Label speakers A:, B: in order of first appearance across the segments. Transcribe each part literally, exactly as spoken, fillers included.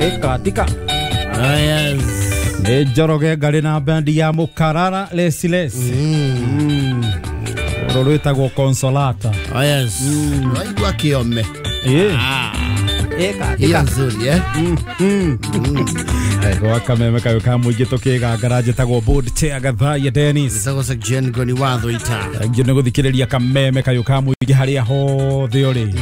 A: Ĩkatika.
B: Ah, yes.
A: Nĩ Njoroge ngarĩ na bandi ya Mũkarara Lesiles. Mm. Rũrũ rwĩtagwo Consolata.
B: Ah, yes.
C: Waigua kĩome.
A: Ĩ.
B: Ah,
A: Ĩka
C: Hiyo
A: tika.
C: nzuri eh?
A: Gwa kameme kayũ ka mũingĩ tũkĩgangara njĩtagwo board chair Gathaiya Dennis.
B: Gĩtagwo Section Ngoni wa Thũita.
A: Thank you nĩ gũthikĩrĩria kameme kayũ ka mũingĩ harĩa hothe ũrĩ.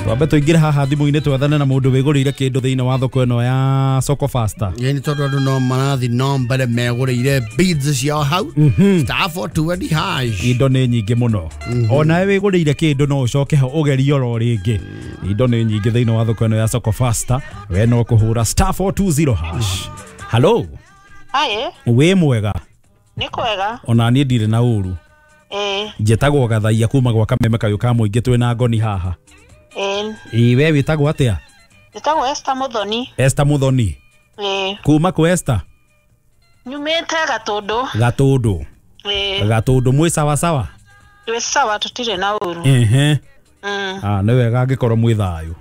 A: Twambe tũingĩre haha thimũ-inĩ twethane na mũndũ wĩgũrĩire kĩndũ thĩinĩ wa thoko ĩno ya Soko Faster.
B: Ĩĩ nĩ tondũ andũ no marathi no mbere megũrĩire beads ciao hau. Star four twenty hash.
A: Indo nĩ nyingĩ mũno. Onawe wĩgũrĩire kĩndũ no ũcoke ho ũgerie oro rĩngĩ. Indo nĩ nyingĩ thĩinĩ wa thoko ĩno ya Soko Faster. We no kũhũra star four two zero hash. Hello,
D: Aye,
A: wĩ mwega?
D: nĩ kwega.
A: Ona niĩ ndirĩ na ũru.
D: Ĩĩ,
A: Njĩtagwo Gathaiya kuma gwa kameme kayũ ka mũingĩ twĩ na ngoni haha.
D: ĩĩ,
A: Ĩ we wĩtagwo atĩa?
D: njĩtagwo Esther Muthoni.
A: Esther Muthoni.
D: Ĩĩ,
A: Kuma kũ Esther?
D: nyumĩte Gatũndũ.
A: Gatũndũ.
D: Ĩĩ,
A: Gatũndũ mwĩ sawa sawa?
D: twĩ sawa tũtirĩ na ũru.
A: Ehe.
D: Mm,
A: Ah, nĩ wega angĩkorwo mwĩ thayũ.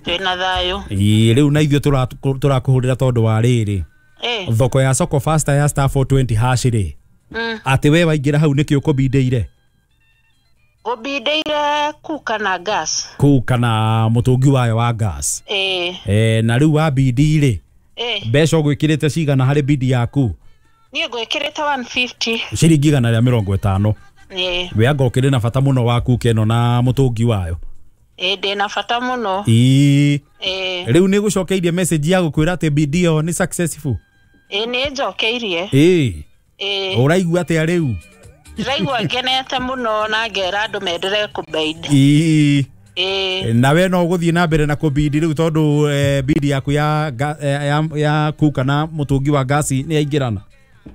D: twĩ na thayũ.
A: Ĩ rĩu na ithuĩ tũra- tũrakũhũrĩra tondũ wa rĩrĩ.
D: Ĩĩ,
A: Thoko ya Soko Faster ya star four twenty hash rĩ.
D: mm,
A: Atĩ we waingĩra hau nĩkĩ ũkũbindĩire?
D: ngũbindĩire kuka na gas.
A: Kũu kana mũtũngi wayo wa gas.
D: Ĩĩ,
A: Eh, na rĩu wa bindi rĩ,
D: ĩĩ,
A: mbeca ũgwĩkĩrĩte cigana harĩ bindi yaku?
D: niĩ ngwĩkĩrĩte one fifty.
A: Ciringi igana rĩa mĩrongo ĩtano.
D: Ĩĩ,
A: We anga ũkĩrĩ na bata mũno wa kuka ĩno na mũtũngi wayo.
D: ĩĩ, ndĩ na bata mũno.
A: Ĩĩ.
D: Ĩĩ,
A: Rĩu nĩ gũcokeirie message ya gũkwĩra atĩ bindi ĩyo nĩ successful.
D: ĩĩ, nĩ njokeirie.
A: Ĩĩ.
D: Ĩĩ,
A: Ũraigua atĩa rĩu?
D: ndĩraigua ngenete mũno na ngera andũ menderee kũbindi.
A: Ĩĩ.
D: Ĩĩ,
A: Na we no ũgũthiĩ na mbere na kũbindi rĩu tondũ eh, bindi yaku ya, ga- eh, ya, ya kuka na mũtũngi wa gasi nĩ yaingĩrana.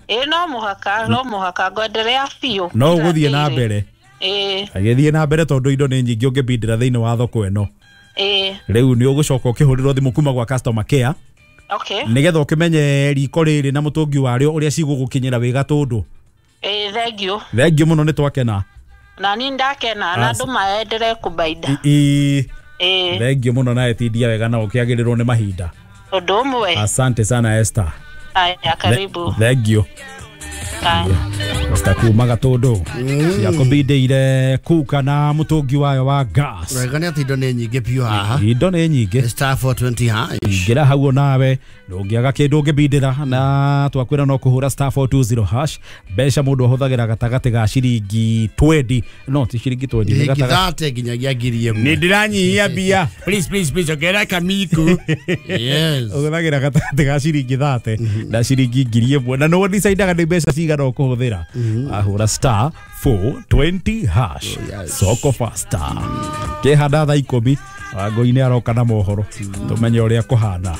D: ĩĩ, no mũhaka, no mũhaka ngwenderea biũ.
A: No ũgũthiĩ na mbere.
D: Ĩĩ,
A: Agĩthiĩ na mbere tondũ indo nĩ nyingĩ ũngĩbindĩra thĩinĩ wa thoko ĩno.
D: ĩĩ,
A: Rĩu nĩ ũgũcoka ũkĩhũrĩrwo thimũ kuma gwa customer care
D: okay.
A: nĩgetha ũkĩmenye riko rĩrĩ na mũtũngi warĩo ũrĩa cigũgũkinyĩra wĩ Gatũndũ.
D: Ĩĩ, thank you.
A: Thengiũ mũno nĩ twakena.
D: Na niĩ ndakena na andũ maenderee kũbainda.
A: Ĩĩ.
D: Ĩĩ,
A: Thengiũ mũno nawe tindia wega na ũkĩagĩrĩrwo nĩ mahinda.
D: ũndũ ũmwe.
A: Asante sana Esther.
D: Aya, karibu.
A: Thengiũ.
D: Aya.
A: Esther kuma Gatũndũ ciakũbindĩire kuka na mũtũngi wayo wa gas.
B: Wega nĩ atĩ indo nĩ nyingĩ biũ haha.
A: Indo nĩ nyingĩ.
B: Star four twenty hash.
A: Ingĩra hau nawe ndũngĩaga kĩndũ ũngĩbindĩra na twakwĩra no kũhũra star four two zero hash. Mbeca mũndũ ahũthagĩra gatagatĩ ga ciringi twenty no ti ciringi twenty nĩ
B: Ciringi
A: gatagatĩ
B: thate nginyagia ngiri ĩmwe.
E: Nĩ ndĩranyihia mbia. Please, please, please, ongerera kamiku.
B: Yes.
A: Ũhũthagĩra gatagatĩ ga ciringi thate na ciringi ngiri ĩmwe na nĩwe decidaga nĩ mbeca cigana ũkũhũthĩra. Ahũra star four twenty hash.
B: Yes.
A: Soko Faster. Kĩhanda thaa ikũmi Wangũi nĩ aroka na mohoro tũmenye ũrĩa kũhana.